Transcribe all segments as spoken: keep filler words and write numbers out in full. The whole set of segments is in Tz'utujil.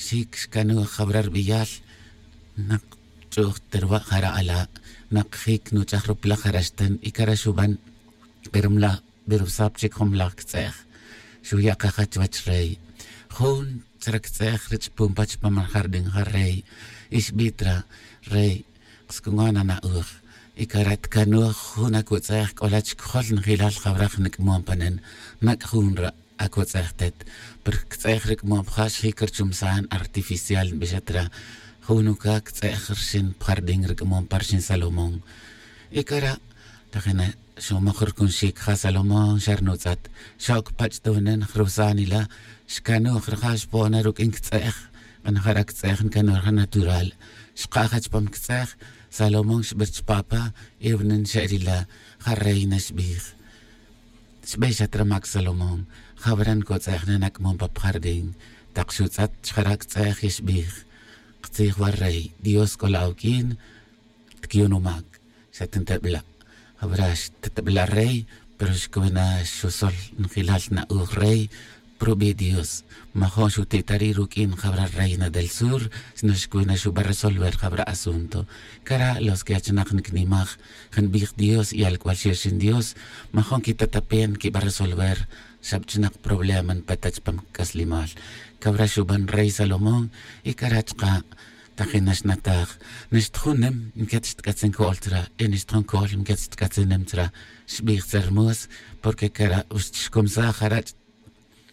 Xic xcanuj jawra rbiyal. Nak ch'uj ta ruwa' jara' ala'. Nak jic nuch'aj ruplaj jara' xten y cara' xuban. Pero mla' berusap chic jun mlaj ctz'ej. Xuya' kaja chuwech rey. Jun tzra ctz'ej rich' pumpa chupam jardín ja rey. Y xbij tra rey, ksk'uman ana'uj. Y cara' tcanuj jun acutz'ej c'ola chic jol njilal jawra jnac'mom panen. Nac' jun ra' acutz'ej tet. Pero ctz'ej rac'mom ja xjic rchumsan artificial nbixat ra. Jun uca ctz'ej rxin pjardín rac'mom pa rxin salomón. Y cara' tajina xumoj rucunxic ja salomón xa rnutz'at. Xoc pach' ta wenen jrusan ila. Xcanuj rija xpo'ona ruq'uin ctz'ej. Q'anjara ctz'ej ncanuj rija natural. Xkaja chupam ctz'ej. Salomón xbir chupapa. Y wenen xe'rila. Ja reina xbij. Xbixat ra mac salomón. Jawra ncotz'ej na nac'mom pa pjardín. Tak xutz'at chjara ctz'ej y xbij. Ktzij wa rey dios c'ola awuq'uin. Tquiyun umac. Xa tintebla'. Jawra xtitebla' rey. Pero xcwena xusol njilal na'uj rey. Prubi' dios. Majo' xuti'tari' ruq'uin jawra reina del sur. Sino xcwena xuba resolver jawra asunto. Cara' los que achinak nicnimaj. Janbij dios y alc'ual xirxin dios. Majo' quitatapen quiba resolver. Xabchinak problema npeta chupam c'aslimal. Cawra xuban rey salomón. Y cara' chka' tajin naxnataj. Naxtjunem nquet xtc'atzin co'ol tzra. Y naxtjun co'ol nquet xtc'atzin nem tzra. Xbij tzermos. Porque cara' xcomsaj jara'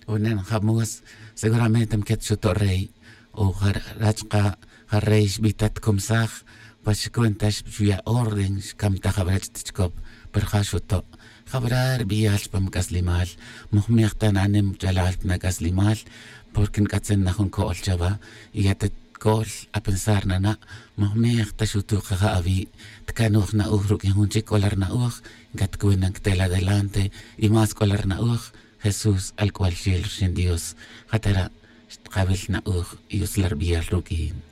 ch'unen jamos. Seguramente nquet xuto' rey. O jara' chka' ja rey xbij ta tcomsaj. Pa xcuenta xuya' orden xcamtaj jawra ch'it chicop. Pero ja xuto' jawra rbiyal chupam c'aslimal. Mojmej ta na'anem ch'alal ta nac'aslimal. Porque nc'atzin na jun co'ol chawa. Y ya ta co'ol apensar nana'. Mojmej ta xutuj kaja awi'. Tcanuj na'uj ruq'uin jun chic c'ola rna'uj. Ncatcuin na nctel adelante. Y más c'ola rna'uj. Jesús alc'ual xel rxin dios. Jatara' xtkawil na'uj. Y utzla rbiyal ruq'uin.